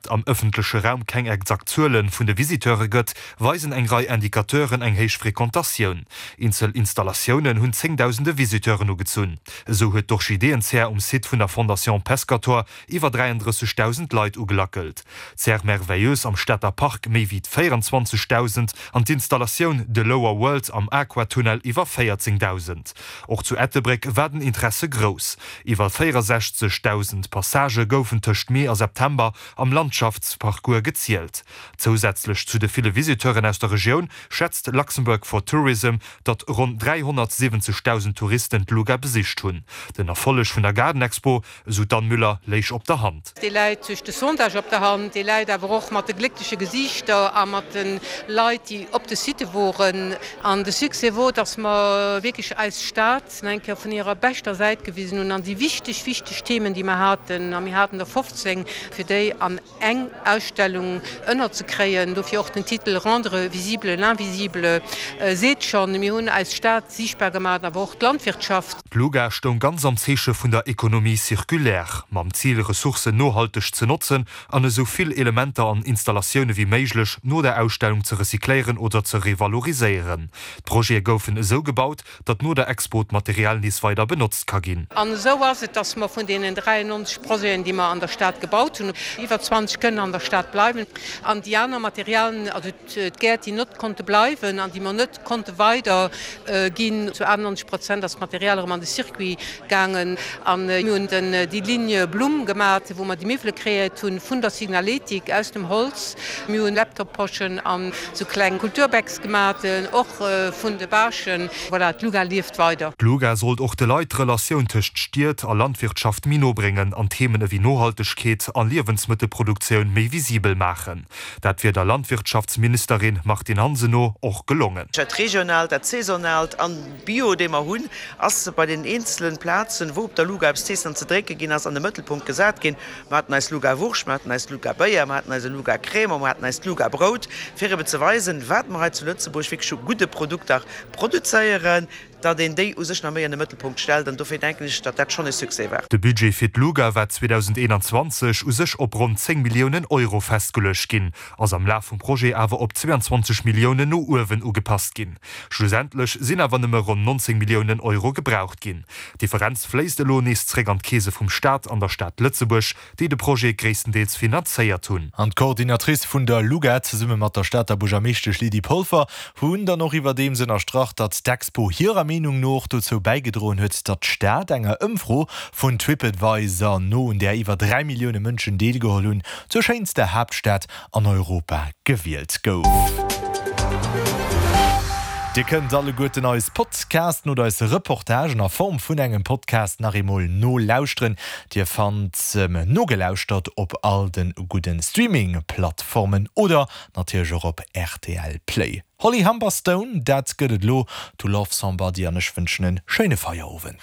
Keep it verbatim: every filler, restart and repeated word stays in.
d'Concept am ëffentleche Raum keng exakt Zuele vun de Visiteure gëtt, weisen eng Rei Indicateuren eng héich Frequentatioun. Eenzel Installatiounen hunn zéngdausende Visiteuren ugezunn. Esou huet d'Orchideeënzär um Site vun der Fondation Pescator iwwer dräiandrëssegdausend Leit ugelackelt, d'Serre Merveilleuse am Stater Park méi wéi véierundzwanzegdausend an d'Installatioun The Lower World am Aquatunnel iwwer véierzéngdausend. Och zu Ettelbréck war den Interesse grouss. Iwwer véierundsechzegdausend Passagë goufen tëscht Mee a September am Landschaftsparcours gezielt. Zousätzlech zu de ville Visiteuren aus der Regioun schätzt Luxembourg for Tourism, datt ronn dräihonnertsiwwenzegdausend Touristen d'Luga besicht hunn. Den Erfolleg vun der Gaardenexpo, esou d'Anne Müller, léich op der Hand. Dee läit duerch de Sondage op der Hand, dee läit awer och mat de gléckleche Gesiichter a mat de Leit, déi op de Sitte woren. An de Succès wor, dass mer wierklech eis Stad nach eng Kéier vun hirer beschter Säit gewisen hunn an déi wichteg, wichteg Themen, déi mer haten, a mir haten der fofzéng, fir déi an eng Ausstellung ënnerzekréien, dofir och den Titel Rendre visible l'invisible, seet schonn, mir hunn eis Stad siichtbar gemaach, awer och d'Landwirtschaft. D'Luga stoung ganz am Zeeche vun der Économie circulaire, mam Zil, Ressourcen nohalteg ze notzen an esou vill Elementer an Installatioune wéi méiglech no der Ausstellung ze recycléieren oder ze revaloriséieren. D'Projete goufen esou gebaut, datt no der Expo d'Material nees weider benotzt ka ginn. An esou ass et, datt mer vun deenen dräiannonzeg Projeten, déi mer an der Stad gebaut hunn, iwwer zwanzeg kënnen an der Stad bleiwen an déi aner Materialien, also d'Gäert, déi net konnte bleiwen an déi mer net konnte weider ginn, zu achtennonzeg Prozent ass d'Material erëm an de Circuit gaangen. An mir hunn déi Ligne Blumm gemat, wou mer déi Miwwele kreéiert hunn vun der Signaletik aus dem Holz. Mir hunn Laptop-Poschen an esou kleng Kulturbags gemat, och vun de Bâchen. Voilà, d'Luga lieft weider. D'Luga sollt och de Leit d'Relatioun tëscht Stied a Landwirtschaft méi no bréngen an Themen ewéi Nohaltegkeet a Liewensmëttelproduktioun méi visibel maachen. Dat wier der Landwirtschaftsministerin Martine Hansen no och gelongen. Dat Regionaalt, dat Saisonaalt an Bio, dee mer hunn, ass bei den eenzelen Plazen, wou op der Luga eppes z'iessen an ze drénke ginn ass, an de Mëttelpunkt gesat ginn. Mer haten eis Luga-Wurscht, mer haten eis Luga-Béier, mer haten eise Luga-Cremant, mer haten eist Luga-Brout, fir ebe ze weisen, wat mer hei zu Lëtzebuerg wierklech u gudde Produkter produzéieren, datt een déi u sech nach méi an de Mëttelpunkt stellt. An dofir denken ech, datt dat schonn e Succès war. De Budget fir d'Luga war zweedausendeenanzwanzeg u sech op ronn zéng Milliounen Euro festgeluecht ginn, ass am Laf vum Projet awer op zweeanzwanzeg Milliounen no uewen ugepasst ginn. Schlussendlech sinn awer nëmme ronn nonzéng Milliounen Euro gebraucht ginn. D'Differenz fléisst elo nees zréck an d'Keese vum Staat an der Stad Lëtzebuerg, déi de Projet gréisstendeels finanzéiert hunn. An d'Coordinatrice vun der LUGA zesumme mat der Stater Buergermeeschtesch Lydie Polfer hunn dann och iwwerdeems ënnerstrach, datt d'Expo hirer Meenung no och dozou bäigedroen huet, datt d'Stad enger Ëmfro vun Tripadvisor no, un där iwwer dräi Millioune Mënschen deelgeholl hunn, zur schéinster Haaptstad an Europa gewielt gouf. Dir kënnt alleguerten eis Podcasten oder eis Reportagen a Form vun engem Podcast nach eemol nolauschteren. Dir fannt Nogelauschtert op all de gudden Streaming-Plattformen oder natierlech och op R T L Play. Holly Humberstone, dat gëtt et elo, To Love Somebody, an ech wënschen e schéine Feierowend.